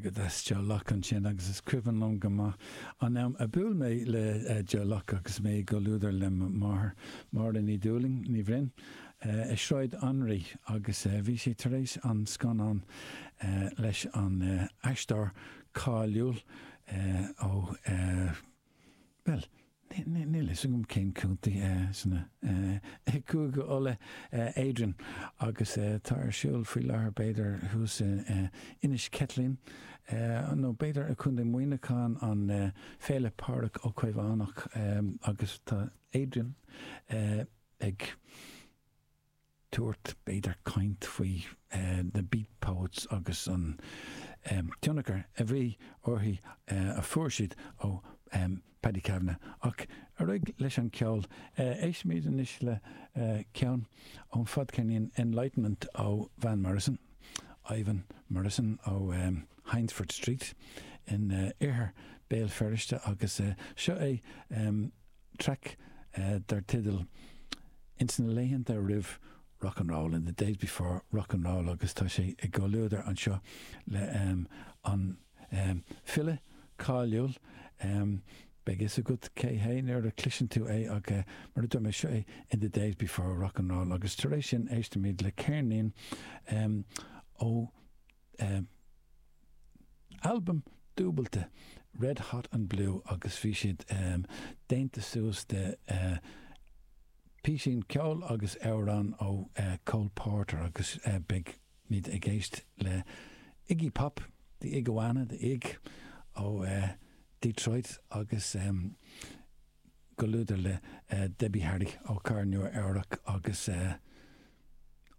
Go deas Joe Locke ansin agus is cuimhin liom go maith an am a bhuail mé le Joe Locke agus mé i gcomhluadar le mo mháthair, Máire Ní Dhúlaing, Ní Bhroin, i Sráid Anraí agus bhí sé tar éis an scannán leis an aisteoir cáiliúil ó, bhuel, Níl fhios agam cén contae sna i gCúige Uladh, Adrian, agus tá ar siúl faoi láthair b'fhéidir thuas in Inis Ceithleann nó b'fhéidir i Contae Muineacháin an Féile Pádraig Ó Caomhánach agus tá Adrian ag tabhairt, b'fhéidir, caint faoi na Beat Poets agus an tionchar a bhí orthu, a fuair siad ó Paddy Kavanagh. Ach ar aghaidh leis an cheol. Éistfimid anois le ceann ón fadcheirnín Enlightenment ó Van Morrison, Ivan Morrison ó Hyndford Street in oirthear Béal Feirste agus seo é traic dar teideal Ins na laethanta roimh Rock and Roll, In the days before Rock and Roll agus tá sé i gcomhluadar anseo le an file cáiliúil, beidh fhios agat cé hé nuair a chloiseann tú é ach mar a dúirt mé, seo é In the days before Rock and Roll agus tar éis sin éistfimid le ceirnín ó Albam dúbailte Red Hot and Blue agus bhí siad déanta suas de píosín ceoil agus amhrán ó Cole Porter agus beidh muid ag éist le Iggy Pop, The Iguana, The Ig ó Detroit agus gcomhluadar le Debbie Harry ó Chathair Nua Eabhrac agus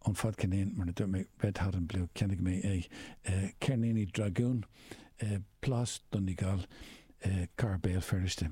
ón fadcheirnín, mar a dúirt mé, Red Hot and Blue, cheannaigh mé é i Ceirníní Dragún i Plás Donegal i gCathair Béal Feirste.